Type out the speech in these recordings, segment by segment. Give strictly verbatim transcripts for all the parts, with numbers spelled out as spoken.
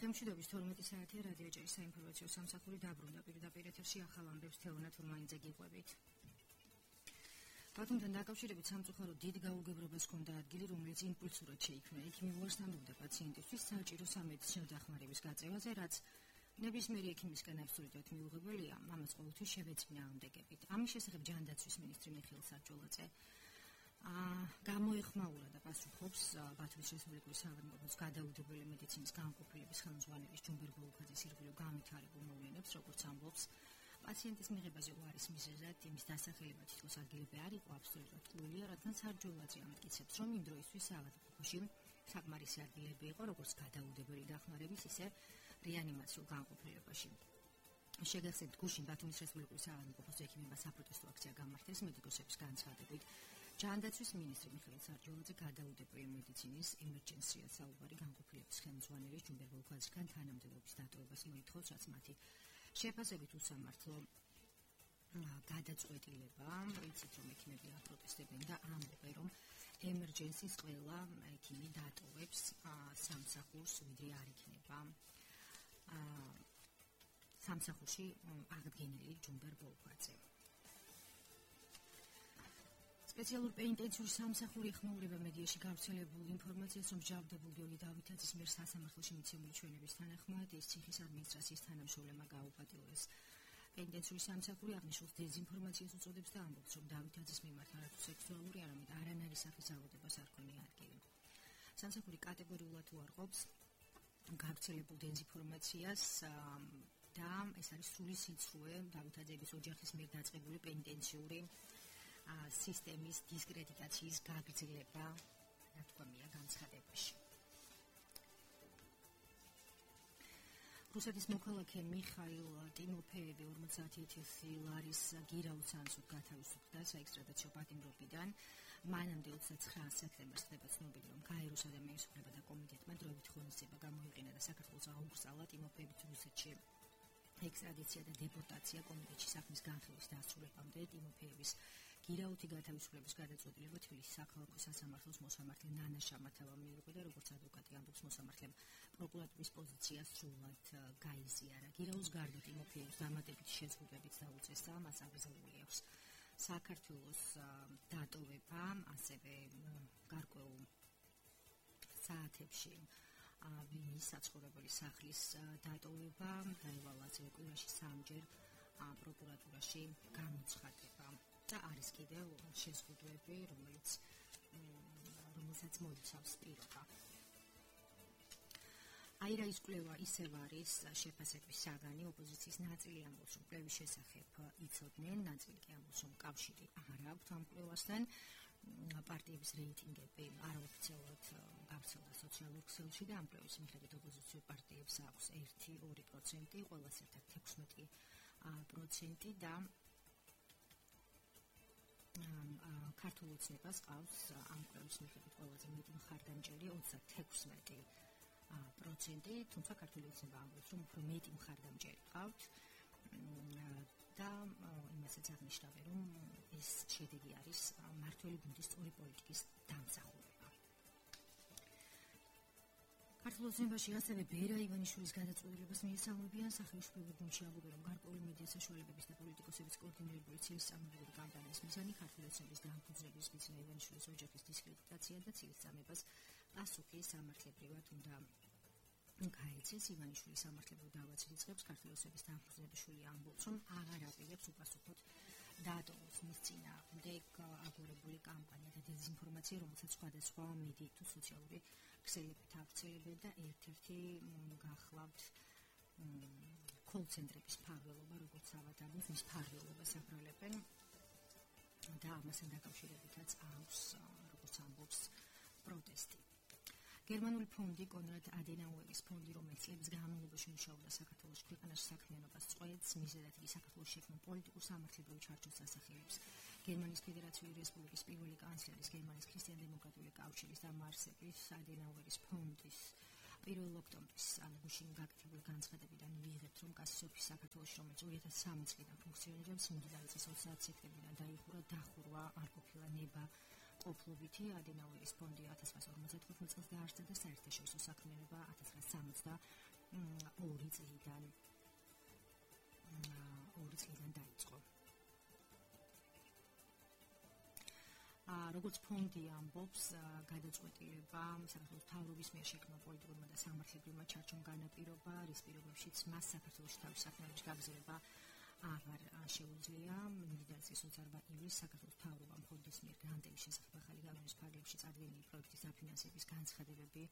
თემშვიდობის თორმეტი საათია რადიო ჭერის საინფორმაციო სამსახური დაბრუნდა პირდაპირ ეთერში ახალ ამბებს თეონა თურმანიძე გიყვებით. ბათუმთან დაკავშირებით სამწუხაროდ დიდ გაუგებრობას ჰქონდა ადგილი, რომელიც იმპულსურად შეიქმნა. იქ მიუარსამობდა პაციენტისთვის საჭირო სამედიცინო დახმარების გაწევაზე, რაც ნებისმიერი ექიმისგან აბსოლუტურად მიუღებელია, ამას ყოველთვის შევეძინა ამდეგებით. ამის შესახებ ჯანდაცვის მინისტრი მიხეილ სარჯოლაძე გამოეხმაურა და პასუხობს ბათუმის რესპუბლიკური საავადმყოფოს გადაუდებელი მედიცინის განყოფილების ხელმძღვანელის ჯუმბერ ბოლუქაძის ირგვლივ განვითარებულ მოვლენებს, როგორც ამბობს, პაციენტის მიღებაზე უარის მიზეზად იმის დასახელება თითქოს ადგილები არ იყო აბსოლუტურად ტყუილია, რადგან სარჯოლაძე ამტკიცებს, რომ იმ დროისთვის საავადმყოფოში საკმარისი ადგილები იყო, როგორც გადაუდებელი დახმარების, ისე რეანიმაციულ განყოფილებაში. შეგახსენებთ, გუშინ ბათუმის რესპუბლიკური საავადმყოფოს ექიმებმა საპროტესტო აქცია გამართეს მედიკოსების განცხადებით. ჯანდაცვის მინისტრი მიხეილ სარჯოლაძე გადაუდებელი მედიცინის ემერჯენსია საუბარი განყოფილების ხელმძღვანელის ჯუმბერ ბოლუქაძისგან თანამდებობის დატოვებას მოითხოვს, რაც მათი შეფასებით უსამართლო გადაწყვეტილება. იცით, რომ ექიმები აპროტესტებენ და ამბობენ, რომ ემერჯენსის ყველა ექიმი დატოვებს სამსახურს, ვიდრე არ იქნება სამსახურში აღდგენილი ჯუმბერ ბოლუქაძე. სპეციალურ პენიტენციურ სამსახური ეხმაურება მედიაში გავრცელებულ ინფორმაციას, რომ მსჯავრდებულ გიორგი დავითაძის მიერ სასამართლოში მიცემული ჩვენების თანახმად ის ციხის ადმინისტრაციის თანამშრომლებმა გაუპატიურეს. პენიტენციური სამსახური აღნიშნულს დეზინფორმაციას უწოდებს და ამბობს, რომ დავითაძის მიმართ არათუ სექსუალური, არამედ არანაირი სახის ავადებას არ ქონია ადგილი. სამსახური კატეგორიულად უარყოფს გავრცელებულ დეზინფორმაციას და ეს არის სრული სიცრუე დავითაძეების ოჯახის მიერ დაწყებული პენიტენციური სისტემის დისკრედიტაციის გაგრძელება, ნათქვამია განცხადებაში. რუსეთის მოქალაქე მიხაილ ტიმოფეევი ორმოცდაათი ათასი ლარის გირაუც ანსუთ გათავისუფლდა საექსტრადიციო პატიმრობიდან. მანამდე ოცდაცხრა სექტემბერს ხდება ცნობილი, რომ გაეროს ადამიანის უფლებათა კომიტეტმა დროებით ღონისძიება გამოიყენა და საქართველოს აუგზავნა ტიმოფეევის რუსეთში. ექსტრადიცია და დეპორტაცია კომიტეტში საქმის განხილვის დასრულებამდე ტიმოფეევის გირაუთი გათავისუფლების გადაწყვეტილება თბილისის საქალაქო სასამართლოს მოსამართლე ნანა შამათავამ მიიღო და როგორც ადვოკატი ამბობს, მოსამართლემ პროკურატურის პოზიცია სრულად გაიზიარა. გირაუს გარდა ტიმოფეევის დამატებითი შეზღუდვებით დაუწეს და მას აკრძალული აქვს საქართველოს დატოვება, ასევე გარკვეულ საათებში ვინის საცხოვრებელი სახლის დატოვება, დაევალა კვირაში სამჯერ პროკურატურაში გამოცხადება. და არის კიდევ შეზღუდვები, რომელიც რომელსაც მოიცავს პირობა. აირაის კვლევა ისევ არის შეფასების საგანი. ოპოზიციის ნაწილი ამბობს, რომ კვლევის შესახებ იცოდნენ, ნაწილი კი ამბობს, რომ კავშირი არ აქვს ამ კვლევასთან. პარტიების რეიტინგები არაოფიციალურად გავრცელდა სოციალურ ქსელში და ამ კვლევის მიხედვით ოპოზიციურ პარტიებს აქვს ერთი ორი პროცენტი, ყველას ერთად ექვსმეტი პროცენტი და ქართულ ოცნებას ყავს ამ კვლევის მიხედვით ყველაზე მეტი მხარდამჭერი ოცდათექვსმეტი პროცენტი, თუმცა ქართული ოცნება ამბობს, რომ უფრო მეტი მხარდამჭერი ყავთ და იმასაც აღნიშნავენ, რომ ეს შედეგი არის მმართველი გუნდის სწორი პოლიტიკის დამსახურება. ქართულ ოცნებაში ასევე ბერა ივანიშვილის გადაწყვეტილებას მიესალმებიან. სახელმწიფო გუნდში ამბობენ, რომ გარკვეული მედია საშუალებების და პოლიტიკოსების კოორდინირებული ცილის წამოწყებული კამპანიის მიზანი ქართული ოცნების დამფუძნების მიზნია ივანიშვილის ოჯახის დისკრედიტაცია და ცილის წამებას პასუხი სამართლებრივად უნდა გაეცეს. ივანიშვილის სამართლებრივ დავაცით იწყებს. ქართული ოცნების დამფუძნების შვილი ამბობს, რომ აღარ აპირებს უპასუხოდ დაატოვოს მის წინააღმდეგ აგორებული კამპანია და დეზინფორმაცია, რომელსაც სხვადასხვა მედიით თუ სოციალური ქსელებით ავრცელებენ და ერთ-ერთი გახლავთ კოლ-ცენტრების მფარველობა, როგორც ავადმყოფს მის მფარველობას აბრალებენ და ამასთან დაკავშირებითაც აქვს, როგორც ამბობს, პროტესტი. გერმანული ფონდი კონრად ადენაუერის ფონდი, რომელიც წლების განმავლობაში მუშაობდა საქართველოს ქვეყანაში საქმიანობას წყვეტს, მიზეზად იგი საქართველოს შექმნილ პოლიტიკურ სამართლებრივ ჩარჩოს ასახელებს. გერმანიის ფედერაციული რესპუბლიკის პირველი კანცლერის, გერმანიის ქრისტიან-დემოკრატიული კავშირის დამაარსების ადენაუერის ფონდის პირველ ოქტომბრის გუშინ გაკეთებული განცხადებიდან მიიღებთ, რომ კასისოფის საქართველოში, რომელიც ორი ათასი სამი წლიდან ფუნქციონირებს, მიმდინარე წლის ოცდაათი სექტემბრიდან დაიხურა დახურვა არ ყოფილა ნება ყოფლობითი. ადენაუერის ფონდი ათას ცხრაასი ორმოცდათხუთმეტ წელს დაარსდა და საერთაშორისო საქმიანობა ათას ცხრაასი სამოცდა ორი წლიდან ორი წლიდან დაიწყო. როგორც ფონდი ამბობს, გადაწყვეტილება საქართველოს მთავრობის მიერ შექმნილ პოლიტიკურმა და სამართლებრივმა ჩარჩომ განაპირობა, რის პირობებშიც მას საქართველოში თავის საქმიანობის გაგრძელება აღარ შეუძლია. მდიდარი წლის ოცდაარბა ივლისს საქართველოს მთავრობამ ფონდის მიერ გრანტების შესახებ ახალი განონის ფარგლებში წარდგენილი პროექტის დაფინანსების განცხადებები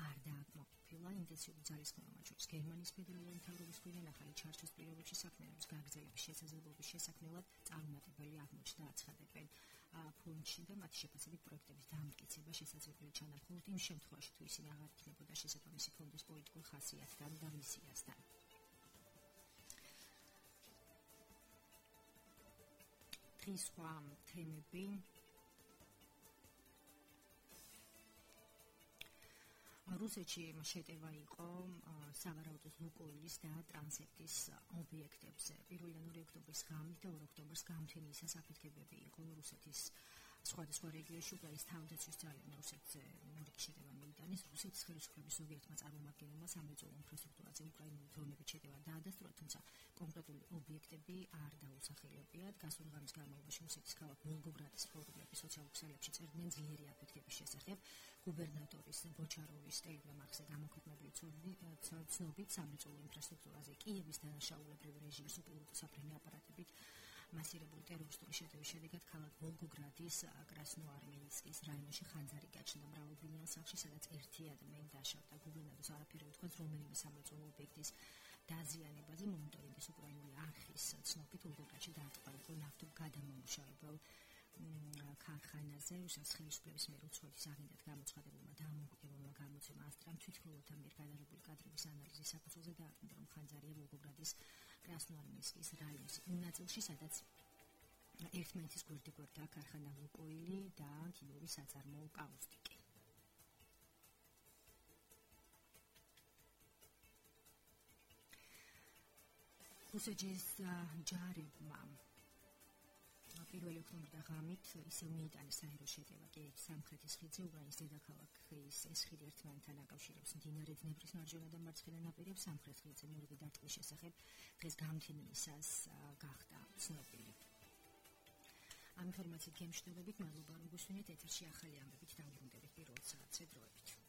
არ დააკმაყოფილა. ინტენსიური ძალისხმევა, მათ შორის გერმანიის ფედერალური მთავრობის მხრიდან ახალი ჩარჩოს პირობებში საქმიანობის გაგრძელების შესაძლებლობის შესაქმნელად წარუმატებელი აღმოჩნდა აცხადებენ ფონდში და მათი შეფასებით პროექტების დამტკიცება შესაძლებელი ჩანდა მხოლოდ იმ შემთხვევაში, თუ ისინი აღარ იქნებოდა შესაბამისი ფონდის პოლიტიკურ ხასიათთან და მისიასთან. დღის სხვა თემები რუსეთში შეტევა იყო სავარაუდოდ ლუკოილის და ტრანსეფტის ობიექტებზე. პირველ და ორი ოქტომბრის ღამით და ორი ოქტომბრის გამთენიისას აფეთქებები იყო რუსეთის სხვადასხვა რეგიონში. უკრაინის თავდაცვის ძალებმა რუსეთზე მორიგი შეტევა მიიტანეს. რუსეთის ხელისუფლების ზოგიერთმა წარმომადგენელმა სამრეწველო ინფრასტრუქტურაზე უკრაინული დრონებით შეტევა დაადასტურა, თუმცა კონკრეტული ობიექტები არ დაუსახელებიათ. გასული ღამის განმავლობაში რუსეთის ქალაქ ვოლგოგრადის ფორუმები სოციალურ ქსელებში წერდნენ ძლიერი აფეთქების შესახებ. გუბერნატორის ბოჩაროვის ტელეგრამ არხზე გამოქვეყნებული ცნობით სამრეწველო ინფრასტრუქტურაზე კიევის დანაშაულებრივი რეჟიმის უპილოტო საფრენი აპარატებით მასირებული ტერორისტული შეტევის შედეგად ქალაქ ვოლგოგრადის კრასნოარმეისკის რაიონში ხანძარი გაჩნდა მრავალბინიან სახლში, სადაც ერთი ადამიანი დაშავდა. გუბერნატორს არაფერი უთქვას რომელიმე სამრეწველო ობიექტის დაზიანებაზე. მონიტორინგის უკრაინული არხის ცნობით ვოლგოგრადში დაარტყმა იყო ნავთობგადამამუშავებელ ქარხანაზე. რუსეთის ხელისუფლების მიერ უცხოეთის აგენტად გამოცხადებულმა დამოუკიდებლობამ გამოცემა ასტრამ თვითმფრინავთა მიერ გადაღებული კადრების ანალიზის საფუძველზე დაადგინა, რომ ხანძარია ვოლგოგრადის კრასნოარმეისკის რაიონის იმ ნაწილში, სადაც ერთმანეთის გვერდიგვერდაა ქარხანა ლუკოილი და ქიმიური საწარმოო კაუსტიკი. რუსეთის ჯარებმა პირველი ოქტომბრის ღამით ისევ მიიტანეს საერო შეტევა კი სამხრეთის ხიდზე. უკრაინის დედაქალაქის ეს ხიდი ერთმანეთთან აკავშირებს მდინარე დნეპრის მარჯვენა და მარცხენა ნაპირებს. სამხრეთ ხიდზე მორიგი დარტყმის შესახებ დღეს გამთენიისას გახდა ცნობილი. ამ ინფორმაციით გემშვიდობებით, მადლობა რომ გვისმინეთ. ეთერში ახალი ამბებით დავბრუნდებით პირველ საათზე დროებით.